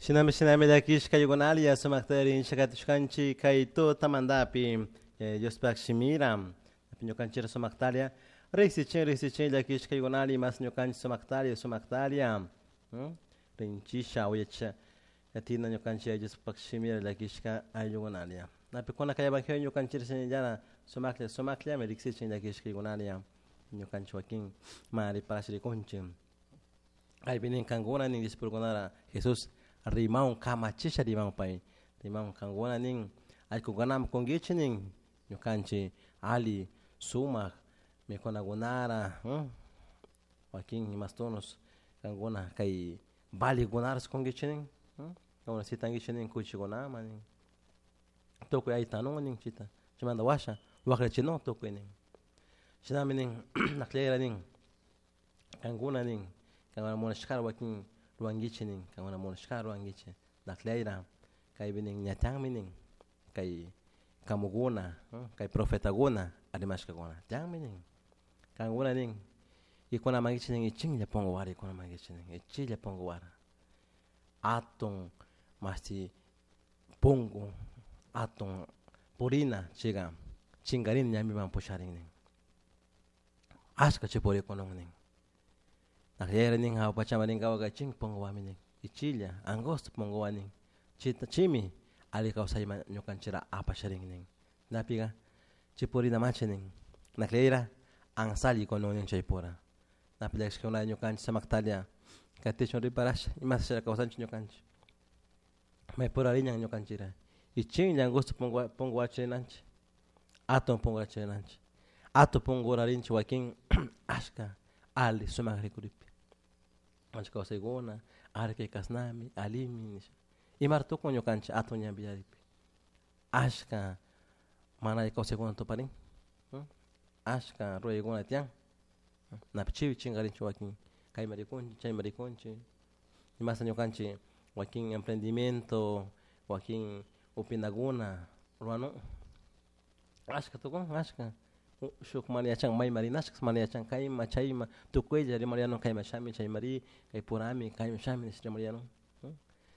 Shinami shinami llakishka yugunalya sumakta shakatushkanchik kay tutamantapi Diospaq shimira ñukanchik sumaktalia riqsichin riqsichin llakishka yugunali mas ñukanchik sumaktalia sumaktalia rinchisha uyacha yatina ñukanchik Diospaq shimira llakishka ayllugunalia napikuna kay evangelio ñukanchik shinallara sumaklla sumakllami riqsichin llakishka yugunalia ñukanchik wakin mana riparash rikunchik kaypi nin kankuna nin discipulukunara Jesús rimaun kamachisha rimaun pay rimaun kankuna nin allkukunaman kunkichik nin ñukanchik ali sumak mikunakunara wakin imastunos kankuna kay valikunaras kunkichik nin kankuna sitankichik nin kuchikunaman nin tukuy aytanun nin chita chaymanta washa wakllichinun tukuy nin shinami nin akllayra nin kankuna nin kankuna munashkara wakin ruwankichik nin kankuna munashkara ruwankichik akllayra kaypi nin ñatanmi nin kay kamukuna kay profetakuna rimashkakuna tiyanmi nin kankuna nin ikunamankichik nin ichinlla punkuwara ikunamankichik nin ichilla punkuwara atun mashti punku atun purina chayka chinkarina ñampiman pusharin nin ashka chay purikunun nin akllayra nin hawa pachaman rinkawaka ichin punkuwami nin ichilla angosto punkuwa nin chita chaymi alli kawsayman ñukanchikra apasharin nin napika chay purina machi nin akllayra ansalla kunun nin chaypura napi llakishkuna ñukanchik samaktalla katichun riparasha imashalla kawsanchik ñukanchik maypura riñan ñukanchikra ichinlla angosto punkuwachi rinanchik atun punkuwachi rinanchik atun punkura rinchik wakin ashka alli sumak rikuripi ñukanchik kawsaykuna ari kay kasnami allimi nisha imara tukun ñukanchik atun ñanpi ashka mana alli kawsaykuna tuparin ashka ruraykuna tiyan napi chaypi chinkarinchik wakin kayman rikunchik chayman rikunchik imasta ñukanchik wakin emprendimiento wakin upinakuna ruwanun ashka tukun ashka shuk mana yachan mayman rinashka mana yachan kayman chayman tukuylla rimariyanun kayman shami chayman ri kay purami kayman shami nish rimariyanun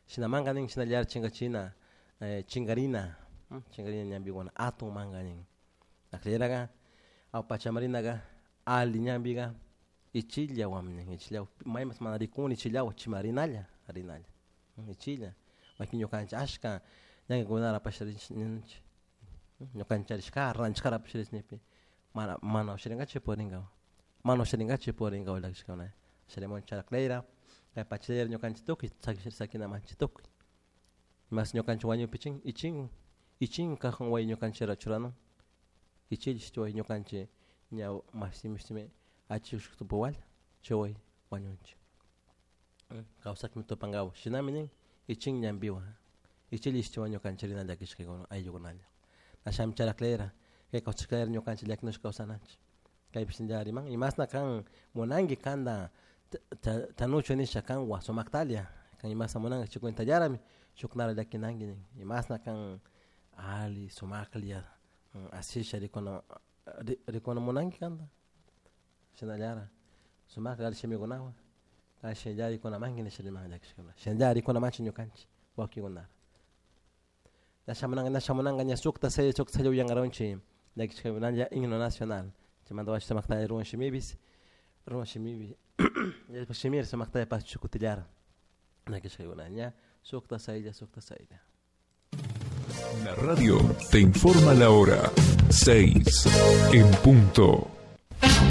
shinamanka nin shinallara chinkachina chinkarina chinkarina ñampikuna atun manka nin akllaraka awa rinaka alli ñampika ichillawami nin ichillawan maymas mana rikuni ichillawan chayman rinalla rinalla ichilla wakin ñukanchik ashka ñankakunara apasha rinchik ñukanchik charishkara ranchishkara apasha rinchik nikpi mana mana usharinkachu purinkawan mana usharinkachu purinkawan llakishkakuna sharimun charaklayra kay pachayra ñukanchik tukuy sakinamanchik tukuy mas ñukanchik wañupi chin ichin ichin cajón wayi ñukanchikra churanun ichilla wayi ñukanchik ña mashti mishtimi achik tupawalla chay wayi wañunchik kawsakmi tupankawan shinami nin ichin ñampiwan ichilla ishtiwan ñukanchik rina llakishkakuna ayllukunalla ashami charaklayra kay kawsashkayra ñukanchik llakinushka kawsananchik kaypi shinallara riman imasna kan munanki kanta chanuchu nisha kanwan sumaktalla kan imashna munanki chay cuentallarami shuknara llakinanki nin imasna kan alli sumaklla asisha rikuna rikuna munanki kanta shinallara sumaklla alli shimikunawan shinallara rikunamanki nisha riman llakishkakuna shinallara rikunamanchik ñukanchik wakikunara ña shamunanka ña shamunanka ña sukta sella sukta sella uyankaronchik llakishkakunalla himno nacional chaymanta washa sumaktalla ruwan shimipis ruwan shimipi shimira sumaktalla pasachun kutillara llakishkakuna ña sukta saylla sukta saylla. La radio te informa la hora 6 en punto.